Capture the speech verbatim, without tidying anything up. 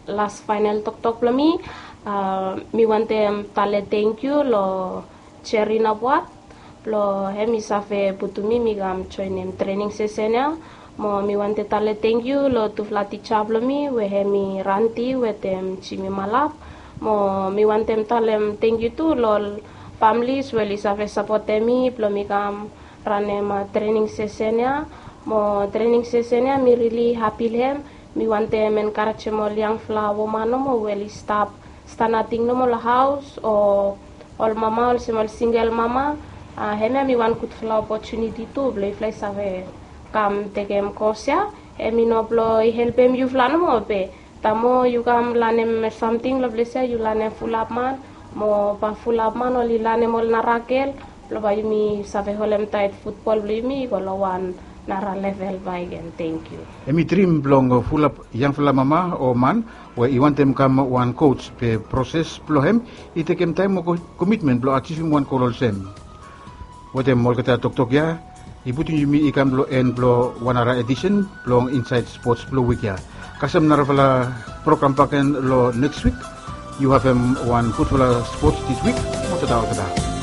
Las fainal toktok blong mi, mi wantem tale tengkiu long Jerina Buat blong hem i save putum mi mi kam joenem trening sesen ya. Mo mi wantem tale tengkiu long tufala tija blong mi we hem i Ranti wetem Jimi Malap. Mo mi wantem talem tengkiu tu long ol familis we oli save sapotem mi blong mi kam ranem trening sesen ya. Mo trening sesen ya mi rili hapi long hem. Mi wantem enkarejem ol yangfala woman nomo we oli stap stap nating nomo long haos o ol mama olsem ol singel mama. Hemia mi wan gudfala opotuniti tu blong yufala i save kam tekem kos ya. Hem i no blong i helpem yufala nomo be taem moa yu kam lanem samting long ples ya yu lanem fulap man mo bae fulap man oli lanem ol nara gel blong bae yumi save holemtaet futbol blong yumi i go long wan nara level bakegen. Tengkiu. Hem i drim blong fulap yangfala mama o man we i wantem kam wan kos be proses blong hem i tekem taem mo komitmen blong ajivim wan gol olsem. Wetem olgeta toktok ya i putum yumi i kam long en blong wan nara edisen blong Insaed Spots blong wik ya. Kasem narafala program bakegen long neks wik. Yu havem wan gudfala spots dis wik. Mo tata olgeta.